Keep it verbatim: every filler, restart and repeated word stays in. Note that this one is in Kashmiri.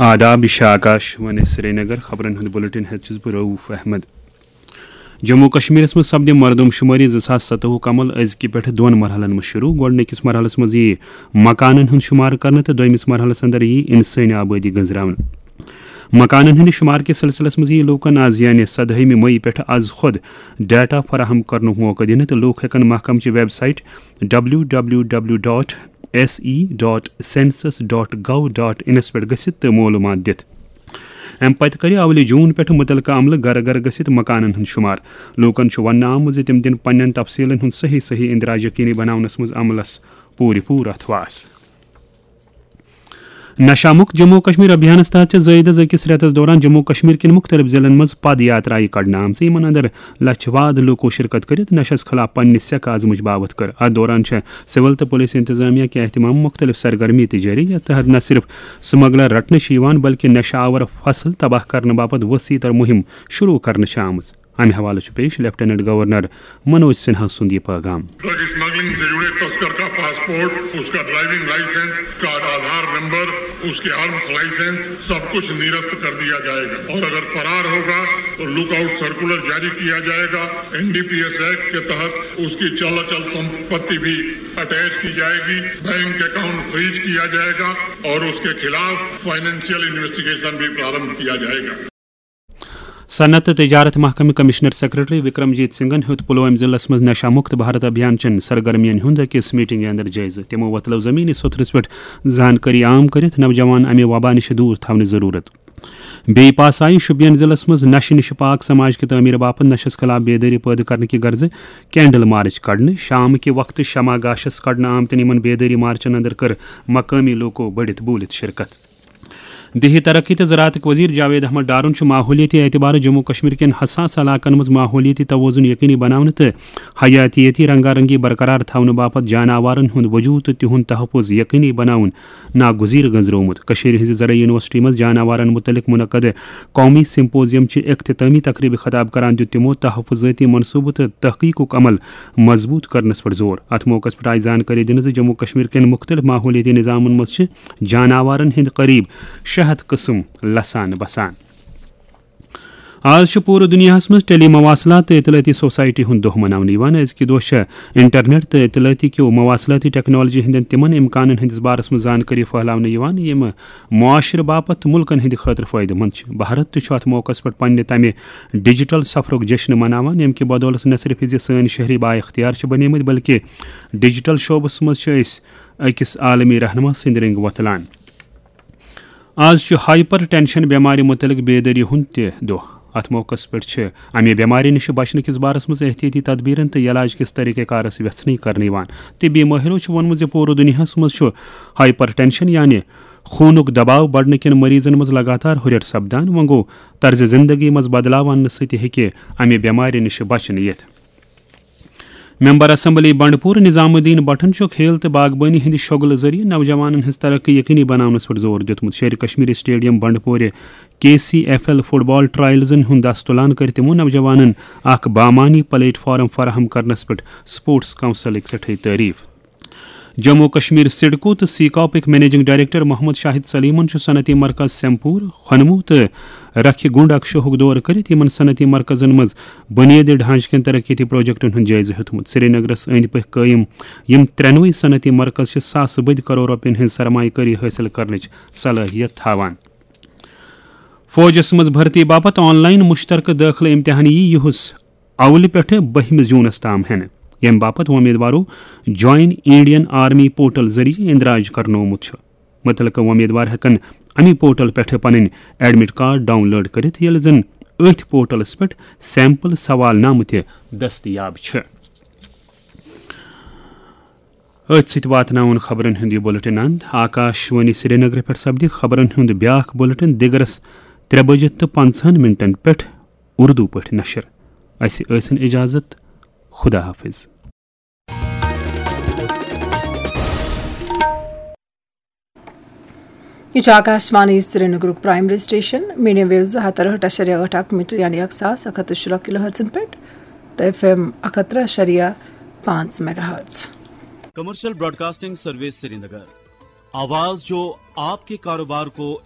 آداب، یہِ چھِ آکاش وانی سرینگر۔ خبرن ہُنٛد بُلٹن ہٮ۪تھ چھُس بہٕ رؤف احمد۔ جموں کشمیرس منٛز سپدِ مردم شمٲری زٕ ساس ستوُہُک عمل أزکہِ پٮ۪ٹھٕ دۄن مرحلن منٛز شروع۔ گۄڈٕنِکِس مرحلس منٛز یِیہِ مکانن ہُنٛد شمار کرنہٕ تہٕ دوٚیمِس مرحلس اندر یِیہِ انسٲنی آبٲدی گٔنزراونہٕ۔ مکانن ہٕنٛدِ شمار کِس سلسلس منٛز یِیہِ لوٗکن از، یعنی سدہٲیمہِ مئی پٮ۪ٹھٕ از خۄد ڈیٹا فراہم کرنُک موقعہٕ دِنہٕ تہٕ لوٗکھ ہٮ۪کن محکمہٕ چہِ website W W W dot S E dot census dot gov dot in پٮ۪ٹھ گٔژھِتھ تہٕ معلوٗمات دِتھ۔ اَمہِ پتہٕ کَرِ اولہِ جوٗن پٮ۪ٹھٕ مُتعلقہٕ عملہٕ گرٕ گرٕ گٔژھِتھ مکانن ہُنٛد شُمار۔ لوٗکن چھُ وننہٕ آمُت زِ تِم دِن پننٮ۪ن تفصیٖلن ہُنٛد صحیح صحیح اندراج یقینی بناونس منٛز عملس پوٗرٕ پوٗرٕ اتھواس۔ نشہ مکت جموں و کشمیر ابھیانس تحت چھِ زٲیدٕ أکِس رٮ۪تس دوران جموں و کشمیر کٮ۪ن مُختٔلِف ضلعن منٛز پد یاترایہِ کڑنہٕ آمژٕ، یِمن اندر لچھِ واد لوٗکو شرکت کٔرِتھ نشس خلاف پننہِ سیکہٕ عزمٕچ باوتھ کٔر۔ اتھ دوران چھےٚ سول تہٕ پُلیٖس انتظامیہ کہِ اہتمام مُختٔلِف سرگرمی تہِ جٲری، یتھ تحت نہ صرف سمگلر رٹنہٕ چھِ یِوان، بلکہِ نشہ آور فصل تباہ کرنہٕ باپتھ وسیع تر مُہِم شروع کرنہٕ چھِ آمٕژ۔ امہِ حوالہٕ چھُ پیش لیفٹیننٹ گورنر منوج سنہا سُنٛد یہِ پیغام۔ ڈرگ اسمگلنگ سے جڑے تسکر کا پاسپورٹ، اس کا ڈرائیونگ لائسنس، اس کا آدھار نمبر، اس کے آرمز لائسنس، سب کچھ نرست کر دیا جائے گا اور اگر فرار ہوگا تو لک آؤٹ سرکولر جاری کیا جائے گا۔ N D P S act کے تحت اس کی چل اچل سمپتی بھی اٹیچ کی جائے گی، بینک اکاؤنٹ فریز کیا جائے گا اور اس کے خلاف فائنینشیل انویسٹیگیشن بھی پرارمبھ کیا جائے گا۔ صنعت تہٕ تجارت محکمہٕ کمشنر سیکرٹری وکرم جیت سنگھن ہیوٚت پلوامہ ضلعس منٛز نشہ مکت بھارت ابھیان چٮ۪ن سرگرمین ہُنٛد أکِس میٹنگہِ اندر جٲیزٕ۔ تِمو وۄتلٲو زمینی سوٚتھرس پٮ۪ٹھ زانکٲری عام کٔرِتھ نوجوان امہِ وبا نِش دوٗر تھاونٕچ ضروٗرت۔ بیٚیہِ پاس آیہِ شُپین ضلعس منٛز نشہٕ نِش پاک سماج کہِ تعمیٖر باپتھ نشس خلاف بیدٲری پٲدٕ کرنہٕ کہِ غرضہٕ کینڈل مارچ کڑنہٕ۔ شام کہِ وقتہٕ شمع گاشس کڑنہٕ آمتٮ۪ن یِمن بیدٲری مارچن اندر کٔر مقٲمی لوٗکو بٔڑِتھ بوٗلِتھ شرکت۔ دیہی ترقی تہٕ زراعتٕکۍ وزیر جاوید احمد ڈارُن چھُ ماحولیٲتی اعتبارٕ جموں کشمیر کٮ۪ن حساس علاقن منٛز ماحولیٲتی توازن یقینی بناونہٕ تہٕ حیاتیٲتی رنگا رنگی برقرار تھاونہٕ باپتھ جاناوارن ہُنٛد وجود تہٕ تِہُنٛد تحفظ یقینی بناوُن ناگزیر گٔنزرومُت۔ کٔشیٖرِ ہٕنٛزِ زرعی یونیورسٹی منٛز جاناوارن مُتعلق منعقد قومی سمپوزیم چہِ اختتٲمی تقریبہِ خطاب کران دیُت تِمو تحفظٲتی منصوبہٕ تہٕ تحقیقُک عمل مضبوط کرنس پٮ۪ٹھ زور۔ اتھ موقعس پٮ۪ٹھ آیہِ زانکٲری دِنہٕ زِ جموں کشمیر کٮ۪ن مُختٔلِف ماحولیٲتی نظامن منٛز چھِ جاناوارن ہٕنٛدۍ قریب شےٚ ہتھ قٕسم لسان بسان۔ آز چھُ پوٗرٕ دُنیاہَس منٛز ٹیلی مواصلات تہٕ اطلاعاتی سوسائٹی ہُنٛد دۄہ مناونہٕ یِوان۔ أزکہِ دۄہ چھےٚ انٹرنیٹ تہٕ اطلاعاتی کیو مواصلاتی ٹیکنالوجی ہٕنٛدٮ۪ن تِمن امکانن ہٕنٛدِس بارس منٛز زانکٲری پھٔہلاونہٕ یِوان، یِم معاشرٕ باپتھ تہٕ مُلکن ہٕنٛدِ خٲطرٕ فٲیدٕ مند چھِ۔ بھارت تہِ چھُ اتھ موقعس پٮ۪ٹھ پننہِ تمہِ ڈیجیٹل سفرُک جشن مناوان، ییٚمہِ کہِ بدولس نہ صرف زِ سٲنۍ شہری بااختیار چھِ بنیمٕتۍ، بلکہِ ڈیجیٹل شعبس منٛز چھِ أسۍ أکِس عالمی رہنما سٕنٛدۍ رٔنٛگۍ وۄتلان۔ آز چھُ ہائپر ٹینشن بیمارِ مُتعلق بیدٲری ہُنٛد تہِ دۄہ۔ اتھ موقعس پٮ۪ٹھ چھِ امہِ بیمارِ نِش بچنہٕ کِس بارس منٛز احتیاطی تدبیرن تہٕ علاج کِس طریقہ کارس ویژھنٕے کرنہٕ یِوان۔ طبی مٲہرو چھُ ووٚنمُت زِ پوٗرٕ دُنیاہس منٛز چھُ ہائپر ٹینشن یعنی خوٗنُک دباو بڑنہٕ کٮ۪ن مریضن منٛز لگاتار ہُرٮ۪ر سپدان۔ وۄنۍ گوٚو، طرزِ زندگی منٛز بدلاو اننہٕ سۭتۍ ہیٚکہِ امہِ بیمارِ نِش بچنہٕ یِتھ۔ ممبر اسمبلی بنڈپور نظام الدین بٹن چھُ کھیل تہٕ باغبٲنی ہٕنٛدِ شوگلہٕ ذٔریعہٕ نوجوانن ہٕنٛز ترقی یقینی بناونس پٮ۪ٹھ زور دیُتمُت۔ شیرِ کشمیر اسٹیڈیم بنڈپورِ کے سی ایف ایل فٹ بال ٹرائلزن ہُنٛد دس تُلان کٔرۍ تِمو نوجوانن اکھ بامعنی پلیٹ فارم فراہم کرنس پٮ۪ٹھ سپورٹس کونسلٕکۍ سٮ۪ٹھٕے تعریف۔ جموں کشمیر سڈکو تہٕ سیکاپٕکۍ منیجنگ ڈائریکٹر محمد شاہد سلیمن چھُ صنعتی مرکز سیمپور، خنمو تہٕ رکھِ گنڈ اکشوہُک دورٕ کٔرِتھ یِمن صنعتی مرکزن منٛز بنیٲدی ڈھانچہٕ کٮ۪ن ترقیتی پروجیکٹن ہُنٛد جٲیزٕ ہیوٚتمُت۔ سرینگرس أنٛدۍ پٔکۍ قٲیِم یِم ترٛٮ۪نوَے صنعتی مرکز چھِ ساسہٕ بٔدۍ کرور رۄپین ہٕنٛز سرمایہ کٲری حٲصِل کرنٕچ صلٲحیت تھاوان۔ فوجس منٛز بھرتی باپتھ آن لائن مشترکہٕ دٲخلہٕ امتحان یی یُہُس اولہِ پٮ۪ٹھٕ بٔہمہِ جوٗنَس تام ہٮ۪نہٕ، ییٚمہِ باپتھ وۄمیدوارو جوائن انڈین آرمی پورٹل ذٔریعہٕ اندراج کرنومُت چھُ۔ مُتعلقہٕ وۄمیدوار ہٮ۪کَن اَمہِ پورٹل پٮ۪ٹھٕ پنٕنۍ ایڈمٹ کارڈ ڈاؤن لوڈ کٔرِتھ، ییٚلہِ زن أتھۍ پورٹلَس پٮ۪ٹھ سیمپل سوال نامہٕ تہِ دٔستیاب چھِ۔ أتھۍ سۭتۍ واتناوُن خبرن ہُنٛد یہِ بُلٹن اند۔ آکاش وانی سرینگرٕ پٮ۪ٹھ سپدِ خبرن ہُنٛد بیاکھ بُلٹن دِگرس ترٛےٚ بجہِ تہٕ پنٛژاہن منٹن پٮ۪ٹھ اردو پٲٹھۍ نشر۔ اسہِ ٲسِن اجازت۔ خدا حافظ۔ یہِ چھُ آکاشوانی سرینگرُک پرائمری سٹیشن، میڈیم ویو زٕ ہتھ تہٕ ٲٹھ اَشریا ٲٹھ اکھ میٹر، یعنی اکھ ساس اکھ ہتھ تہٕ شُراہ کلو ہرٹزن پٮ۪ٹھ، تہٕ ایف ایم اکھ ہتھ ترٛےٚ اَشریا پانٛژھ mega hertz. Commercial broadcasting service Srinagar, آواز جو آپ کے کاروبار کو